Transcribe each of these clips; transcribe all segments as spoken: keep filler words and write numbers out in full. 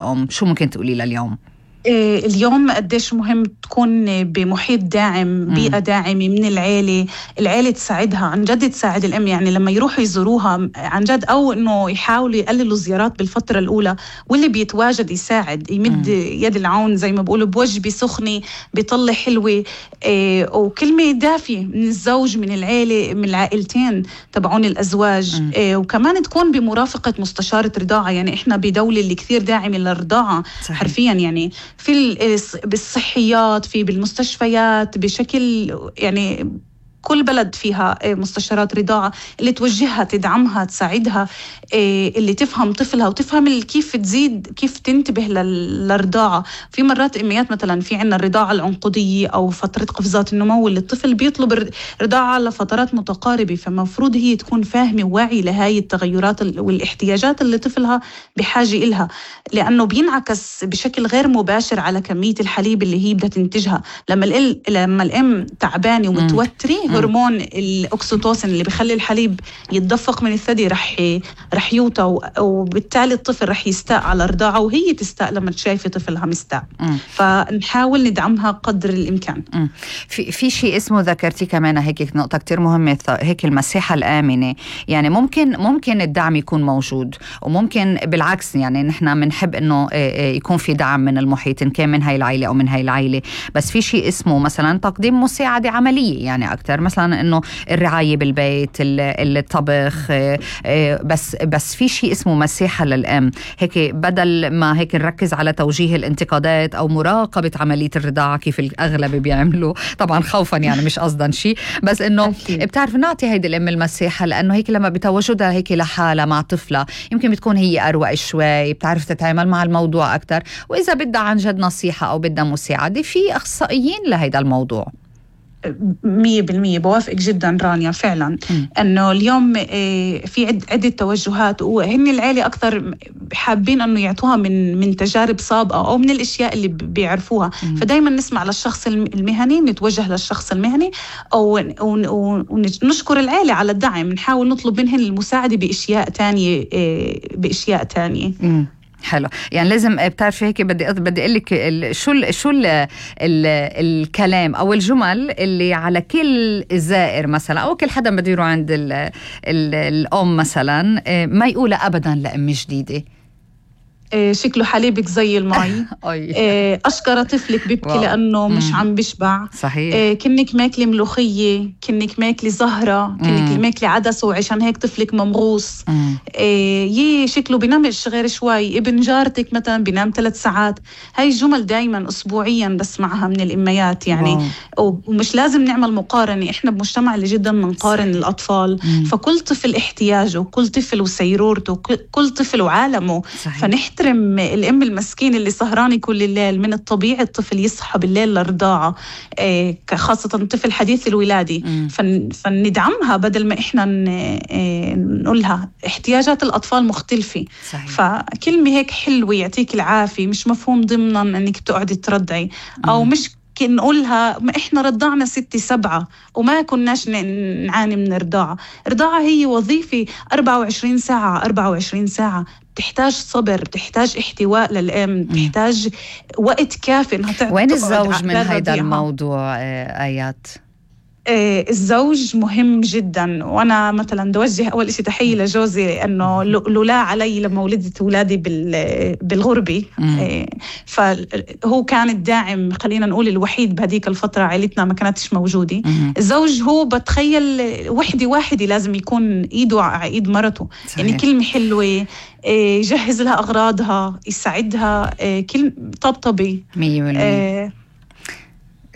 أم شو ممكن تقولي لليوم؟ اليوم قديش مهم تكون بمحيط داعم، بيئة داعمة من العيلة، العيلة تساعدها عن جد، تساعد الأم. يعني لما يروحوا يزوروها عن جد، أو إنه يحاولوا يقللوا زيارات بالفترة الأولى، واللي بيتواجد يساعد، يمد مم. يد العون زي ما بقولوا، بوجبة سخنة، بيطلع حلوة، إيه، وكلمة دافية من الزوج، من العيلة، من العائلتين تبعون الأزواج. إيه، وكمان تكون بمرافقة مستشارة رضاعة. يعني إحنا بدولة اللي كثير داعمة للرضاعة حرفيا، يعني في بالصحيات، في بالمستشفيات بشكل، يعني كل بلد فيها مستشارات رضاعة اللي توجهها، تدعمها، تساعدها، اللي تفهم طفلها وتفهم كيف تزيد، كيف تنتبه للرضاعة. في مرات إميات مثلا في عنا الرضاعة العنقودية أو فترة قفزات النمو، اللي الطفل بيطلب رضاعة لفترات متقاربة، فمفروض هي تكون فاهمة وواعي لهاي التغيرات والاحتياجات اللي طفلها بحاجة إلها، لأنه بينعكس بشكل غير مباشر على كمية الحليب اللي هي بدها تنتجها. لما الأم لما الأم تعبانة ومتوترة، هرمون الأكسيتوسين اللي بيخلي الحليب يتدفق من الثدي رح رح يوطى، وبالتالي الطفل رح يستاء على الرضاعة، وهي تستاء لما تشايفي طفلها مستاء. مم. فنحاول ندعمها قدر الإمكان. مم. في في شيء اسمه، ذكرتي كمان هيك نقطة كتير مهمة، هيك المساحة الآمنة. يعني ممكن ممكن الدعم يكون موجود، وممكن بالعكس، يعني نحن بنحب إنه يكون في دعم من المحيط، إن كان من هاي العائلة أو من هاي العائلة. بس في شيء اسمه مثلا تقديم مساعدة عملية، يعني أكتر مثلا إنه الرعاية بالبيت، الطبخ، بس بس في شيء اسمه مساحة للأم. هيك بدل ما هيك نركز على توجيه الانتقادات أو مراقبة عملية الرضاعة كيف الأغلب بيعملوا، طبعا خوفا يعني مش قصدا شيء، بس إنه بتعرف نعطي هيدي الأم المساحة، لأنه هيك لما بتواجدها هيك لحالها مع طفلة، يمكن بتكون هي أروق شوي، بتعرف تتعامل مع الموضوع أكتر. وإذا بدها عن جد نصيحة أو بدها مساعدة، في أخصائيين لهيدا الموضوع. مية بالمية بوافقك جدا رانيا، فعلا م. أنه اليوم في عدة توجهات، وهن العيلة أكثر حابين أنه يعطوها من من تجارب سابقة أو من الأشياء اللي بيعرفوها. م. فدايما نسمع للشخص المهني، نتوجه للشخص المهني، أو ونشكر العيلة على الدعم، نحاول نطلب منهن المساعدة بأشياء تانية بأشياء تانية. م. حلو. يعني لازم بتعرفي هيك، بدي بدي اقول لك شو ال شو ال ال الكلام او الجمل اللي على كل زائر مثلا، او كل حدا بده يروح عند ال ال الام مثلا، ما يقولها ابدا لأم جديده. شكله حليبك زي المي. أشكر طفلك بيبكي واو. لأنه مم. مش عم بشبع. صحيح. كنك ماكلي ملوخية، كنك ماكلي زهرة، كنك ماكلي عدس، وعشان هيك طفلك ممغوص. يي شكله بينامش غير شوي. ابن جارتك مثلا بينام ثلاث ساعات. هاي الجمل دايما أسبوعيا بسمعها من الإميات يعني. واو. ومش لازم نعمل مقارنة، إحنا بمجتمع اللي جدا منقارن الأطفال. مم. فكل طفل احتياجه، كل طفل وسيرورته، كل طفل وعالمه. فنحت الأم المسكين اللي سهرانة كل الليل. من الطبيعي الطفل يصحى بالليل للرضاعة، خاصة طفل حديث الولادة. فن فندعمها بدل ما إحنا نقولها. احتياجات الأطفال مختلفة. صحيح. فكلمة هيك حلوة، يعطيك العافية، مش مفهوم ضمنا أنك تقعدي ترضعي، أو مم. مش نقولها ما إحنا رضعنا ستة سبعة وما كناش نعاني من الرضاعة. الرضاعة هي وظيفة أربعة وعشرين ساعة أربعة وعشرين ساعة، تحتاج صبر، تحتاج احتواء للأم، تحتاج وقت كافي انها تعطي. وين الزوج من هذا الموضوع آيات؟ الزوج مهم جدا، وانا مثلا دوجه اول شيء تحيه لجوزي، انه لولا علي لما ولدت اولادي بالغربه، فهو كان الداعم، خلينا نقول الوحيد بهديك الفتره. عائلتنا ما كانتش موجوده. الزوج هو بتخيل وحده واحده لازم يكون ايده على ايد مرته. صحيح. يعني كلمه حلوه، يجهز لها اغراضها، يساعدها، كل طبطبي. مية بالمية.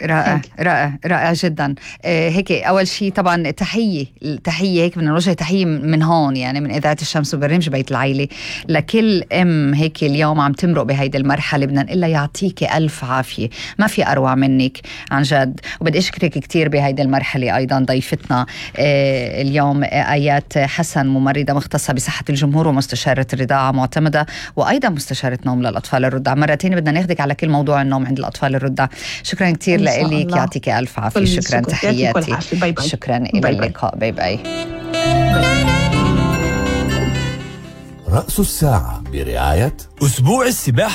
رائع رائع رائع جدا. آه هيك أول شيء طبعا تحية تحية هيك من الوجه، تحية من هون يعني من إذاعة الشمس وبرنامج بيت العيلة لكل أم هيك اليوم عم تمرق بهيدي المرحلة. بدنا نقول لها يعطيك ألف عافية، ما في أروع منك عن جد. وبدي أشكرك كتير بهيدي المرحلة. أيضا ضيفتنا آه اليوم آيات حسن، ممرضة مختصة بصحة الجمهور ومستشارة الرضاعة معتمدة، وأيضا مستشارة نوم للأطفال الرضع. مرتين بدنا ناخدك على كل موضوع النوم عند الأطفال الرضع. شكرا كتير لك، يعطيك ألف عافية. شكرا، تحياتي. باي باي. شكرا، إلى اللقاء. باي باي. رأس الساعة برعاية أسبوع السباحة